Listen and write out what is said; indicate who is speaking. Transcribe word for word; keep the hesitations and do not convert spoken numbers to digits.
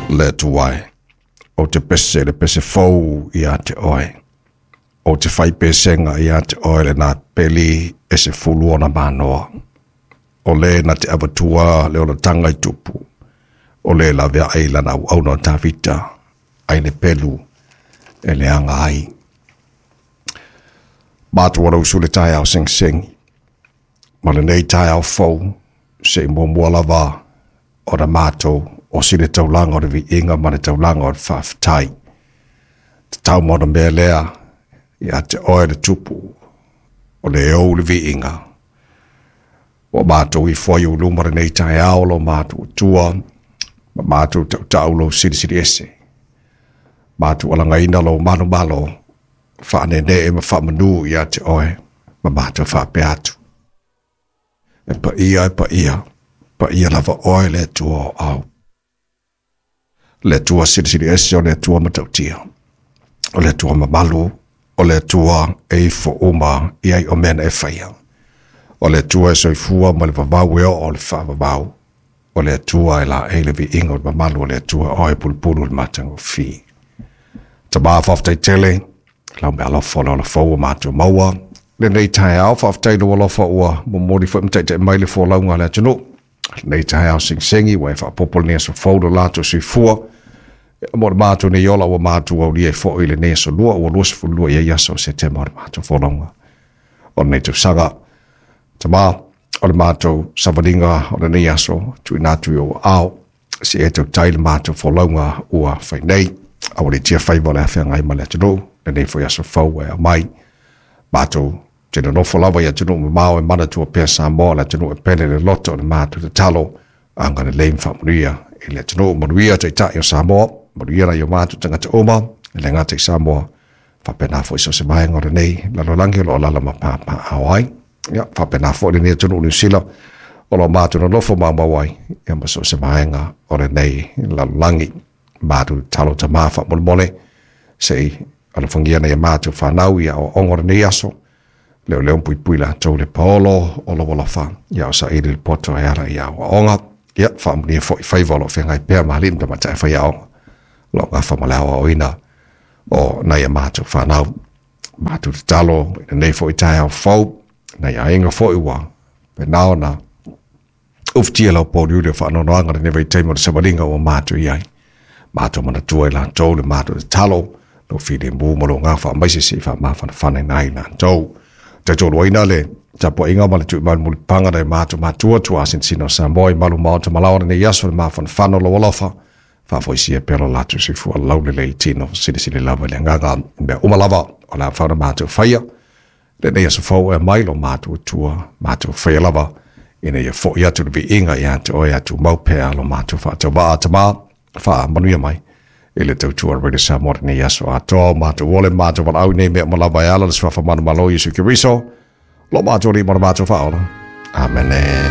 Speaker 1: Le Atua e, ou te pese le pese fou ia te oe. Ou te fai pesega ia te oe lena peli e se fulu ona manoa. O le na te avatua le olataga i tupu. O le laveai lana auauna o Tavita, ai le pelu e leaga ai. Matou o le usu le taeao segisegi, ma lenei taeao fou, se i muamua lava ona matou osi le taulaga o le viiga ma le taulaga o le faafetai. Tatau ma ona mea lea ia te oe le Tupu, o le ou le viiga. Ua matou ifo ai i ou luma lenei taeao lo matou Atua, ma matou tautau lou silisili ese. Matou alagaina lou manumalo, faaneenee ma faamanu ia te oe, ma matou faapea atu. E paia, e paia, paia lava oe le Atua o au. Le Atua silisili ese, o le Atua matautia. O le Atua mamalu, o le Atua e ifo uma i ai o mea na e faia. O le Atua e soifua ma le vavau e oo o le faavavau. O le Atua e laei le viiga o le mamalu o le Atua oe pulupulu le matagofie. Tama faafetai tele, lau meaalofa o le ola fou ua matou maua. Lenei taeao, faafetai i lou alofa ua momoli foi ma taitai mai le folauga a le atunuu. Lenei taeao segisegi ua e faaopoopo lenei aso fou lo latou soifua. Mo le matou nei ola ua matou aulia ai foi lenei aso lua ua luasefulu lua i ai aso o Setema o le matou folauga o lenei tausaga. Tama, o le matou savaliga o lenei aso tuuina atu i ou aao, se e tautai le matou folauga ua fai nei. Aualiitia faiva o le a feagai ma le atunuu, lenei foi aso fou e aumai. Matou te nonofo lava i atunuu mamao e manatua pea Samoa, le atunuu e pele le loto o le matou tatalo, agalelei ma faamanuia i le atunuu, manuia Taitai o Samoa, manuia nai o matou tagata uma, e le gata i Samoa, faapena foi so o se vaega o lenei lalolagi o lo o alaala ma papaaao ai. Ia, faapena foi lenei atunuu Niu Sila o lo o matou nonofo maumau ai, ia ma so o se vaega o lenei lalolagi. Matou tatalo Tama faamolemole, se i alofagia nai a matou fanau i aoaoga o lenei aso, leoleo ma puipui latou i le paolo o lou alofa, ia o saili le poto e ala i aoaoga. Ia, faamanuia foi faiva o lo o feagai pea ma alii ma tamaitai faiaoga, o lo o gafa ma le aoaoina o nai a matou fanau. Matou tatalo i lenei foi taeao fou, nai aiga foi ua faapena ona ufitia lau pouliuli o faanoanoaga lenei vaitaimi o le savaliga ua matou i ai. Matou manatua i latou le matou tatalo, lou filemu ma lou gafa aemaise se i faamafanafanaina ai latou. Tautoaluaina le tapuaiga ma le tuimau i le mulipapaga nai matou matua tuasinasina o Samoa i malu maota malaoa lenei aso le mafanafana o lou alofa, faafoisia pea lo latou soifua laulelei i le tino, silisili lava i le agaga i mea uma lava o le a mafai ona matou faia. Lenei aso fou e aumai lo matou Atua, matou faia lava ina ia foi atu le viiga ia te oe a tumau pea lo matou faatauvaa. Tama, faamanuia mai i le tautua a Radio Samoa lenei aso atoa. O matou ole ma matou valaau i nei mea uma lava e ala i le suafa manumalo o Iesu Keriso, lo matou Alii ma lo matou Faaola. Amene.